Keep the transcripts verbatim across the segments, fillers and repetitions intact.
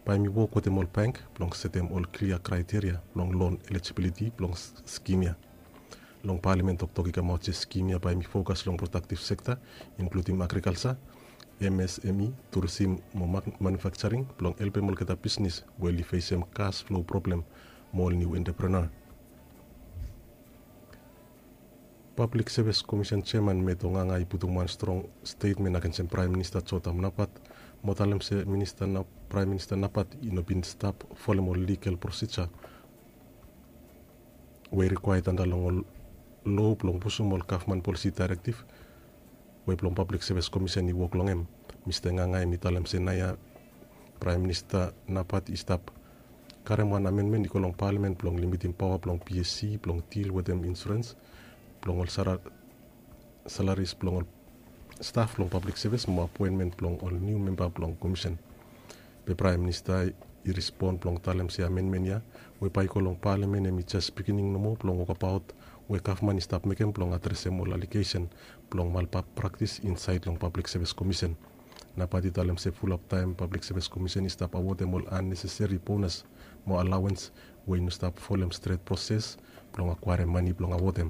Bae hemi wok wetem ol bank blong setem ol klia kraeteria blong loan eligibility blong skim ya. Long palamen toktok i kamaot se skim ya bae hemi fokas long prodaktiv sekta, inkludim agrikalsa, M S M E, turisim mo manufaksaring blong helpem olgeta bisnis we oli fesem kas flo problem mo ol niu entreprenua. Pablik Sevis Komisen jeaman Meto Nganga i putum wan strong stetmen agensem Praem Minista Jotam Napat mo talem se Praem Minista Napat i no bin stap folem ol ligal prosija we i rikwaea anda long ol loa blong pusum ol gavman polisi daerektiv we blong Pablik Sevis Komisen i wok long hem. Mista Nganga hemi talem se naoia Praem Minista Napat i stap karem wan amenmen i go long palamen blong limitim paoa blong P S C blong dil wetem insurens blong ol salaris blong ol staf blong pablik sevis mo apoenmen blong ol niu memba blong komisen. Be Praem Minista i respon blong talem se amenmen ya we bae i go long palamen hemi jes biginin nomo blong wokbaot we gavman i stap mekem blong adresem ol alegesen blong malpraktis insaed long Pablik Sevis Komisen. Napat i talem se fulap taem Pablik Sevis Komisen i stap awodem ol anneseseri bonas mo alawens we i no stap folem stret proses blong akwaerem mane blong awodem.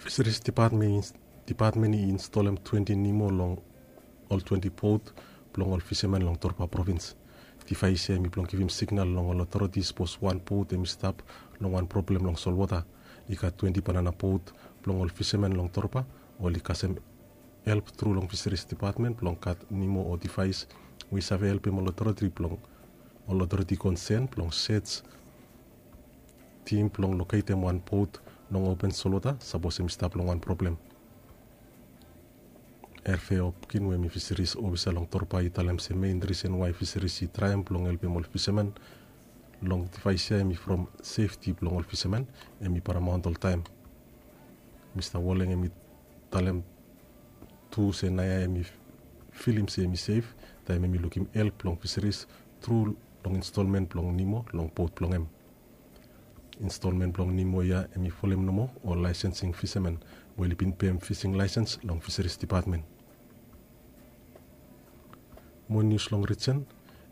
Fiseris Dipatmen i instolem twenti nimo long ol twenti bot blong ol fisamen long Torba provins. Divaes ya hemi blong givim signal long ol otoriti sapos wan bot hemi stap long wan problem long solwota. I gat twenti banana bot blong ol fisamen long Torba oli kasem help tru long Fiseris Dipatmen blong gat nimo o divaes we i save helpem ol otoriti blong ol otoriti konsen blong sej tim blong loketem wan bot long open solwota sapos hemi stap long wan problem. Herve Hopkin we hemi fiseris ofisa long Torba i talem se mein risen wae fiseris i traem blong helpem ol fisamen long divaes ya hemi from sefti blong ol fisamen hemi paramaont oltaem. Mista Woleng hemi talem tu se naoia hemi filim se hemi sef taem hemi lukim help blong fiseris tru long instolmen blong nimo long bot blong hem. Instolmen blong nimo ya hemi folem nomo ol laesensing fisamen we oli bin pem fising laesens long Fiseris Dipatmen. Mo nius long rijen,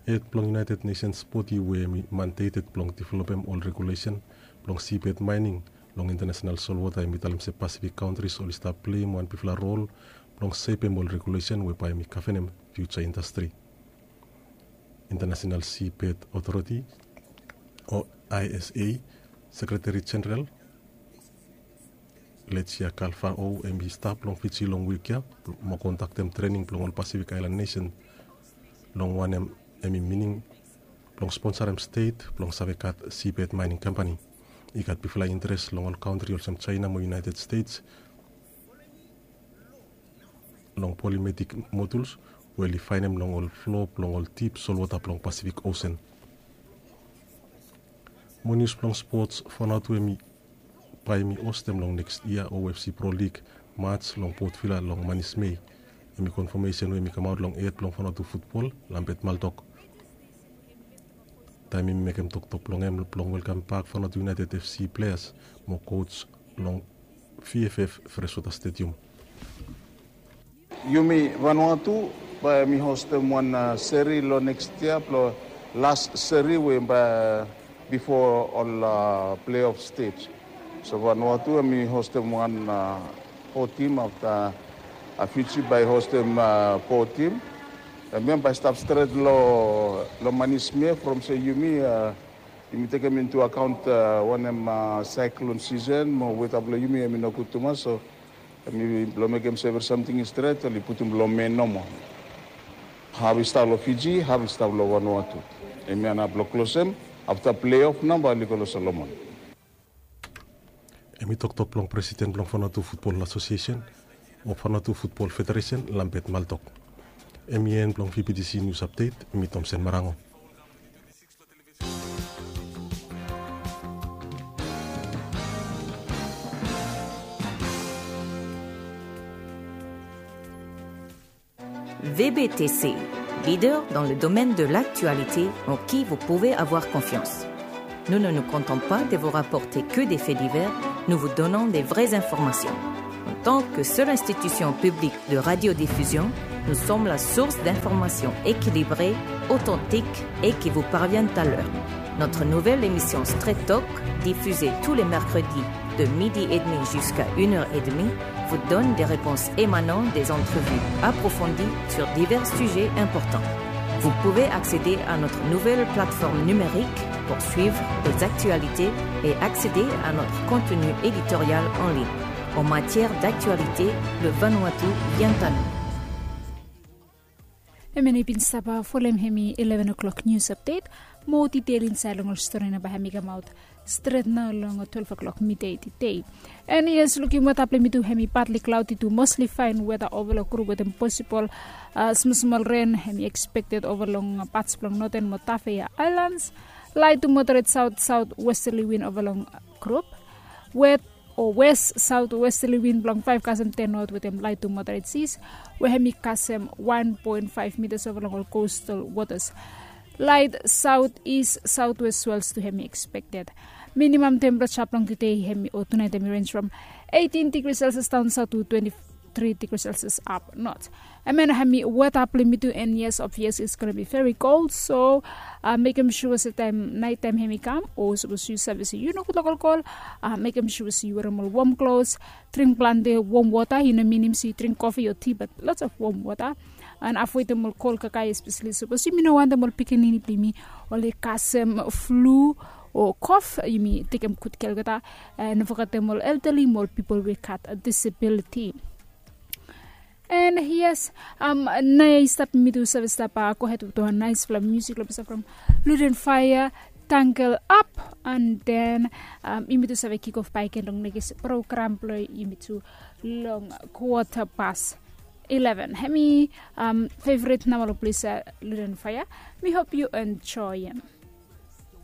hed blong United Nations bodi we hemi mandeted blong developem ol regulesen blong sibed maening long intanasenal solwota hemi talem se Pasifik kantris oli stap pleim wan bigfala rol blong sepem ol regulesen we bae hemi gavenem fiuja indastri. Intanasenal Sibed Otoriti o I S A Sekreteri Jeneral Lesia Kalfao hemi stap long Fiji long wik ya mo kondaktem trening blong ol Pasifik Aelan Nesen long wanem hemi mining blong sponsarem stet blong save gat sibed maening kampani. I gat bigfala interes long ol kantri olsem Jaena mo United States long polimetik moduls we oli faenem long ol flo blong ol dip solwota blong Pasifik Osen. Mo nius blong spots, Vanuatu hemi bae hemi hostem long neks yia O F C Pro League mats long Port Vila long manis Mei. Hemi konfamesen we hemi kamaot long hed blong Vanuatu futbol Lambert Maldok taem hemi mekem toktok blong hem blong welkambak Vanuatu United F C pleas mo koj long V F F Freshwater Stadium. Yumi Vanuatu bae mi hostem wan seri long neks yia blong las seri we bae bifo ol pleof stej. So Vanuatu hemi hostem wan fo tim afta Fiji bae hostem fo tim. Hemia bae stap stret long manis Mei from se yumi yumi tekem intu akaont wanem saeklon sisen mo weta blong yumi hemi nogud tumas, so hemi blong mekem se evri samting i stret oli putum long men nomo. Haf i stap long Fiji, haf i stap long Vanuatu. Hemia nao blong klosem afta pleof nao bae oli go long Solomon. Hemi toktok blong presiden blong Vanuatu Futbol Asosiesen o Vanuatu Futbol Federesen Lambert Maldok. Hemi en blong V B T C News Update, mi Tomsen Marango. V B T C, leader dans le domaine de l'actualité en qui vous pouvez avoir confiance. Nous ne nous contentons pas de vous rapporter que des faits divers, nous vous donnons des vraies informations. En tant que seule institution publique de radiodiffusion, Nous sommes la source d'informations équilibrées, authentiques et qui vous parviennent à l'heure. Notre nouvelle émission Straight Talk, diffusée tous les mercredis de midi et demi jusqu'à une heure et demie, vous donne des réponses émanant des entrevues approfondies sur divers sujets importants. Vous pouvez accéder à notre nouvelle plateforme numérique pour suivre les actualités et accéder à notre contenu éditorial en ligne. En matière d'actualité, le Vanuatu vient à nous. Hemia i bin stap folem hemi eleven o'clock news update. Mo detail insaed long ol stori nao bae hemi kamaot stret nao long twelve o'clock midei tedei. And yes, lukim weta blong yumi tu, hemi partly cloudy tu mostly fine weta ova long grup wetem posibol smol smol ren hemi expected ova long pats blong Northern mo Tafea Islands. Light to moderate south southwesterly wind ova long grup. Wet o west southwesterly wind blong five kasem ten knot wetem light to moderate seas, we hemi kasem one point five meters ova long ol coastal waters. Light southeast southwest swells tu hemi expected. Minimum temperature blong tedei hemi o tunaet hemi range from eighteen degrees Celsius down south to twenty-three degrees Celsius up north. Hemia nao hemi weta blong yumi tu, and yes, obvious it's gonna be very cold, so mekem sua se taem naet taem hemi kam o sapos yu save se yu nogud long kolkol, mekem sua se yu werem ol wom klos, dring plante wom wota. I no minim se yu dring kofi o ti, bat lots of wom wota. And avoedem ol kol kakae, espeseli sapos yumi no wantem ol pikinini blong yumi oli kasem flu o kof, yumi tekem gud kea olgeta. And no fogetem ol elderly mo ol pipol we gat disability. And yes, naoia i stap yumi tu save stap gohed wetem wan naesfala musik long pesa from Luden Fire, Tangle Up. And then yumi tu save kick off bakegen long nekis program blong yumi tu long quarter past eleven. Hemi favorit nao long ples, Luden Fire. Mi hop yu enjoem.